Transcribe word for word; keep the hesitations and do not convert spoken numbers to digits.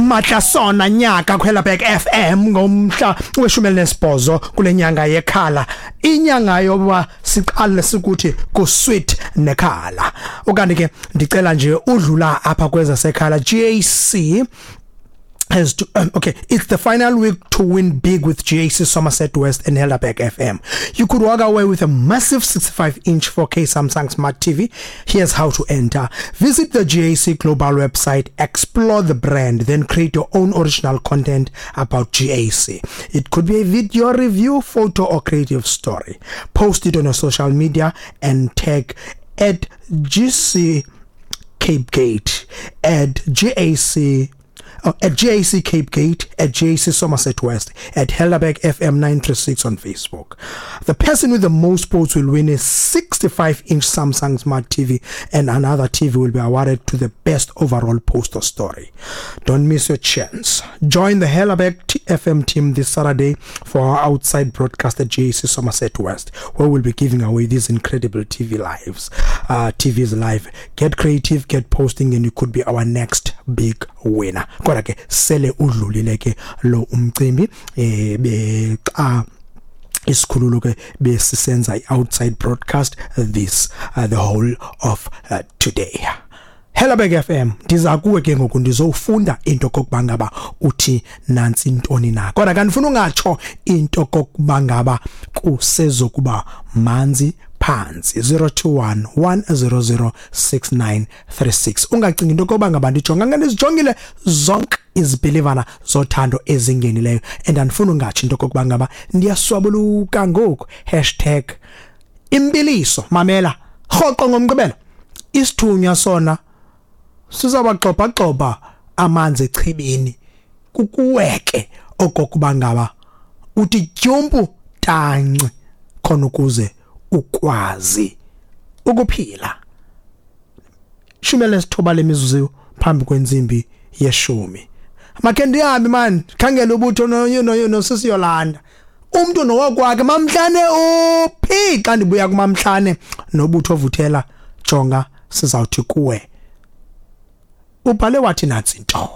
Matlasona nyaka kwiHelderberg F M ngomhla weshumi elinesibhozo kule nyanga yekhala, inyanga yoba siqale sikuthi ku sweet nekhala. Ukanti ke ndicela nje udlula apha kwezasekhala G A C has to, um, okay, it's the final week to win big with G A C Somerset West and Helderberg F M. You could walk away with a massive sixty-five inch four K Samsung Smart T V. Here's how to enter. Visit the G A C Global website, explore the brand, then create your own original content about G A C. It could be a video review, photo or creative story. Post it on your social media and tag at G C Cape Gate, at G A C uh, at G A C Cape Gate, at G A C Somerset West, at Helderberg F M nine three six on Facebook. The person with the most votes will win a sixty-five inch Samsung Smart T V, and another T V will be awarded to the best overall poster story. Don't miss your chance. Join the Helderberg F M team this Saturday for our outside broadcast at G A C Somerset West, where we'll be giving away these incredible T V lives, uh, T Vs live. Get creative, get posting, and you could be our next big winner. Kodwa ke sele udlulile ke lo umcimbi eh bexa isikhululo ke besisenza i-outside broadcast this uh, the whole of uh, today. Helderberg F M, ndiza kuwe ke ngoku, ndizofunda into kokuba ngaba uthi nansi intoni na, kodwa kanifuna ungatsho into kokuba ngaba kusezokuba manzi phansi. zero two one one zero zero six nine three six. Ungacingi into kokuba ngaba ndijonga, ngandizijongile zonke izibhilivana zothando ezingenileyo, and andifuna ungatsho into kokuba ngaba ndiyaswabuluka ngoku. Hashtag imbiliso. Mamela rhoqo ngomgqibelo, isithunywa sona sizawuxoxa amanzi echibini kukuweke okokuba ngaba uthi tyumpu tanci khona ukuze ukwazi ukuphila. Shumi lesithoba lemizuzu phambi kwentsimbi yeshumi. Makhe ndihambe man, khangela ubutho no no no sisi Yolanda, umuntu nowakwakhe mamhlane uphi. Xa ndibuya kumamhlane nobutho ovuthela, jonga, sizawuthi kuwe ubhale wathi nansi into.